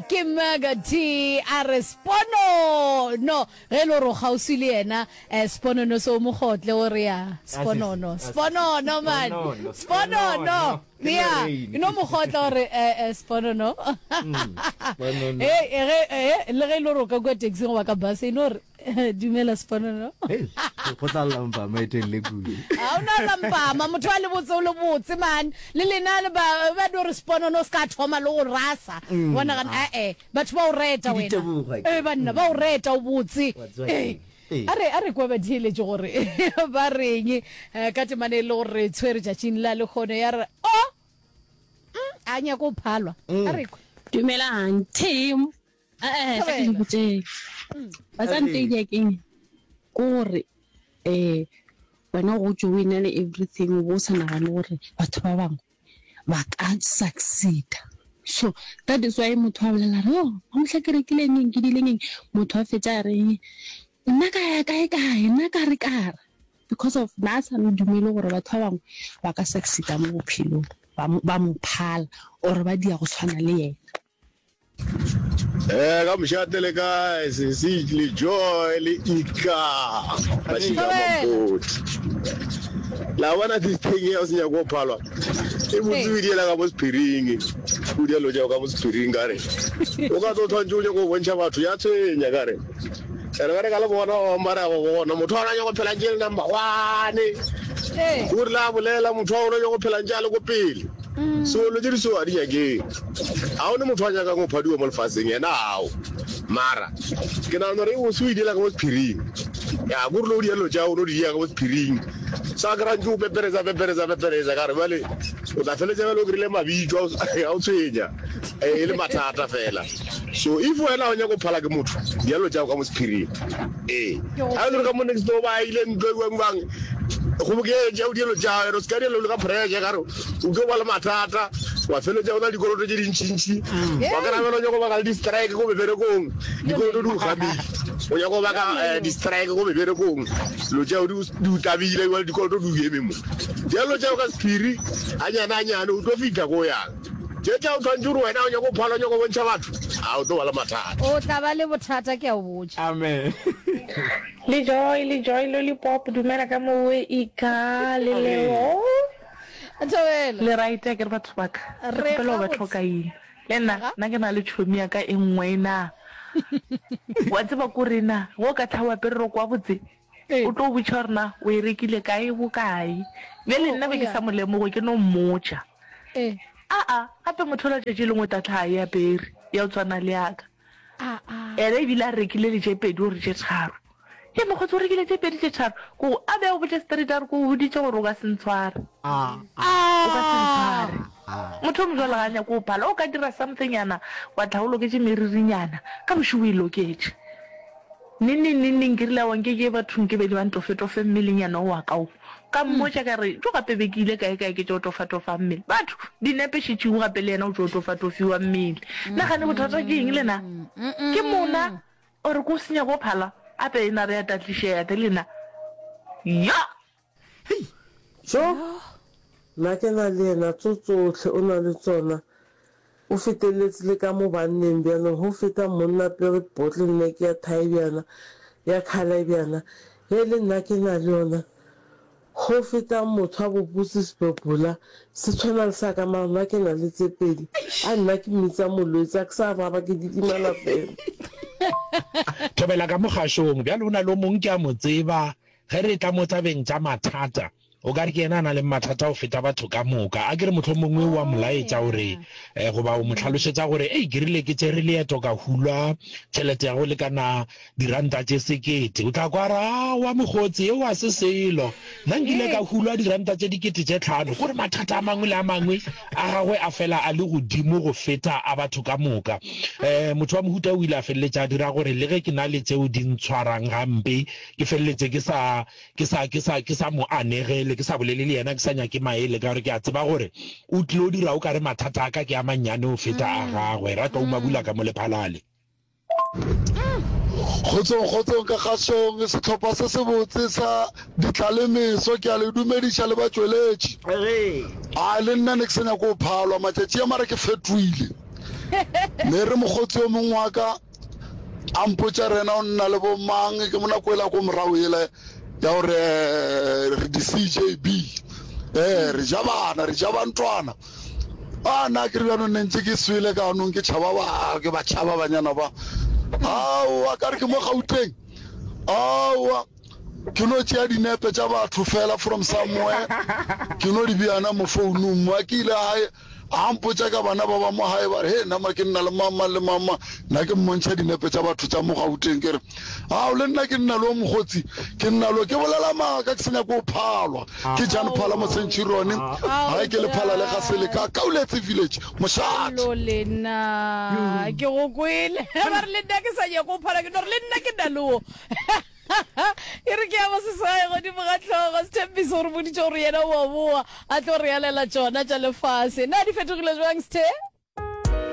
Ke Mega T a re Sponono. Ge e le gore o kgauswi le yena, eh, Sponono se o mo kgotle o re ya Sponono. Sponono man. Sponono. Ya, e no mo kgotla gore eh, eh, Sponono. Hey, ge eh, le ge e le gore o ka kua taxi goba ka bus e no re Dumela Sponono. Hei, go tla lla mpama e telele kudu. Ga o na lla mpama, motho a le botse o le botse man. Le lena le ba ba no re Sponono o ska thoma le go rasa. Mm. Wa nagana a eh batho ba o reta Ke wena. ditebogo, Eh banna ba o reta o botse. Wa tseba Eh. keng? Ee. A re a re kwa ba theeletše gore ba reng eh, ka temane e le gore re tshwere tšatšing la lekgono ya re o mm, a nyaka o phalwa. A re kwe. Dumelang team. Eh, tla ke le botšeng. Ba tsa ntedia keng? Ke gore eh wena o gotše o ena le everything o bo o sa nagane gore batho ba bangwe ba ka succeeda. So that is why motho a bolela re oh mohla ke rekile eng eng ke diile eng motho a fetša a reng nna ka ya kae kae nna ka re ka re because of na a sa no dumele gore batho ba bangwe ba ka succeeda mo bophelong ba mo phala or ba dia go tshwana le yena. Eh, ka mošate le kae sesi le joy le ika mašika mapoti la bona this thing ya o se nyako go phalwa e botse o diela ka mo sephiring o dielo tšeo ka mo sephiring ka re o ka tlo tshwantse o nyako go bontšha batho ya tshwenya ka re ene ka re ka le bona mara go bona motho a nyako phela ntše le number one o rile a bolela motho a ona nyako phela ntše a le ko pele So lo tše di so a di nyakeng. A o ne motho a nyakang go phadiwa mo lefaseng yena ao. Mara ke nagana gore o se o idiela ka mo sephiring. Ya ko rile o dia dilo tša o no di dia ka mo sephiring. Sa kry ntse o pepereza pepereza pepereza ka re bjale o tla feletša bjale o kry-ile mabitso a o tshwenya e le mathata fela. So if wena o nyaka go phala ke motho dia dilo tša ka mo sephiring. Ee. A e le gore ka mo next door ba ile ntlo e bang bang kgoboketša o dia dilo tša o se ka dia dilo ka pressure ka re O tlo ba le mathata, wa feletša o na le dikoloto tše dintšintši, wa kry-a bjale o nyaka go baka le di-strike ko meberekong, dikoloto di go gamile, o nyaka go baka eh, di-strike ko meberekong, dilo tšeo di di o tabile, jale dikoloto di o eme mo. Dilo tšeo ka sephiri, ganyane ganyane o tlo fihla ko o yang. Tše tša o tshwanetše gore wena o nyaka go phala, o nyaka go bontšha batho, a o tlo ba le mathata. O tla ba le bothata, ke a o botša. Amen. Le Joy, le Joy Lollipop, dumela ka mowe Ika le Leo. Thobela. Le right akere batho ba ka? Ke Re kgopela go ba gabotse. tlhoka eng? Le nna, Aga. nna ke na le tšhomi ya ka e nngwe na. Wa tseba ko re na, ge o ka tla o apere roko wa botse, Ee. o tlo o botša gore na o e rekile kae, bokae. Bjale Oh, nna oh be ke ya. sa mo lemoge, ke no mmotša. Ee. Aa, gape motho ola tšatši lengwe o tla tla a e apere, ya go tshwana le ya ka. Aa. Yena ebile a rekile le tše pedi or tše tharo. Hei mokgotsi o rekile tše pedi tše tharo? Ko go, a be a go botša straight a re ko go boditše gore o ka se ntshware. O ka se ntshware. Motho o mojwalo ga a nyake go phala. O ka dira something nyana wa tla o loketše meririnyana, ka bošego o e loketše. Neng neng neng neng ke rile aowa nke ke ye bathong ke be le ba ntofetofe mmelenyana o wa ka o. Ka mmotša ka re, Jo gape be ke ile kae kae ke tšo tofatofa mmele. Batho, dinepe šetšego gape le yena o tšo tofatofiwa mmele. Na gane bothata ke eng lena? Ke mona or ke o senya go phala? Ape ena re ya tatlišega te lena. Yo! Jo! Nna ke na le yena tso tsohle o na le tsona. O feteletse le ka mo banneng bjanong go feta monna pere bottle neck ya thae bjana ya colour bjana ge le nna ke na le yona go feta motho a bopotse sebebola se tshwana le sa ka mara nna ke na le tse pedi a nna ke mmitsa molwetse a ke sa araba ke didimala fela. Thobela ka mo kgašong. Bjale o na le o mong ke a mo tseba, ge re etla mo tabeng tša mathata, O ka re ke yena a na leng mathata go feta batho ka moka. A ke re mohlomongwe o a mo laetša o re, goba o mo hlalošetša gore, Ei, ke rile ke tšere leeto ka hulwa tšhelete ya go lekana diranta tše sekete. O tla kwa a re, Aowa mokgotsi, yeo ga se selo. Nna nkile ka hulwa diranta tše dikete tše tlhano. Kore mathata a mangwe le a mangwe a gagwe a fela a le godimo go feta a batho ka moka. Motho wa mohuta o ile a feleletša a dira gore le ge ke na le tšeo di ntshwarang gampe, ke feleletše ke sa Ke sa, ke sa, ke sa mo anegele, ke sa bolele le yena, ke sa nyake maele, ka gore ke a tseba gore o tlilo dira o ka re mathata a ka ke a mannyane go feta a gagwe. Ratlou Mabula ka mo Lephalale. Kgotsong, kgotsong ka kgašong, sehlopha se sebotse sa Ditlalemeso, ke a le dumediša le batšweletši. A le nna ne ke sa nyake go phalwa matšatši a mara ke fetoile. Me re mokgotsi yo mongwe wa ka a mpotša re yena o nna le bo mang ke mo nako ela ko morago yela ya gore eh, re di-CJB eh re ja bana re ja bantwana a na ke re bjanong ne ntse ke swele ka anong ke tšhaba ba ke ba tšhaba banyana ba aowa ka re ke mo Gauteng aowa Ke no tšea dinepe tša batho fela from somewhere, ke no di beana mo founung. Mo ke ile gae, a mpotša ka bana ba ba mo gae, ba re, He, nama ke nna le mang mang le mang mang. Nna ke mmontšha dinepe tša batho tša mo Gauteng, ke re, Ao, le nna ke nna le o mokgotsi, ke nna le o. Ke bolela maaka, ke se nyake go phalwa. Ke Jan Phala mo Centurion, gae ke Lephala le Gaseleka, Kauletse Village, mošate. Allo le nna ke go kwele. Ba re le nna ke sa nyake go phalwa, ke no re le nna ke nna le o. E re ke ya boseswai godimo ga hlogo. Sthembiso o re boditše gore yena o a boa a tlo re alela tšona tša lefase. Na di fetogile bjang, Sthe?